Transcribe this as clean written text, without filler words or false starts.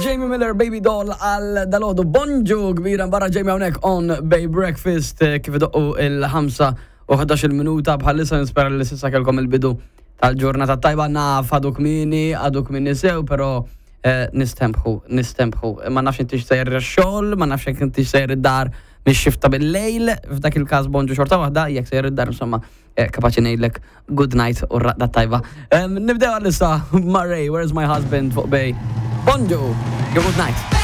Jamie Miller Baby Doll għal dalodu bonġu kbira barra Jamie hawnhekk on Bay Breakfast eh, kif idoqqu il-5 u 11 minuta bħalissa nispera li s'issa kellkom il-bidu tal-ġurnata tajba naf għadu kmini, għadu kmini sew, pero eh, nistempħu, nistempħu. Ma nafx intix sejjer xogħol, ma nafx jekk intix sejjer id-dar mix-xifta bil-lejl, f'dak il-każ bonġu xorta waħda, jekk sejjer id-dar insomma eh, kapaċi ngħidlek good night u raqda tajba. Nibdew għalissa Murray, Where's My Husband fuq Bay. Bonġu, good night.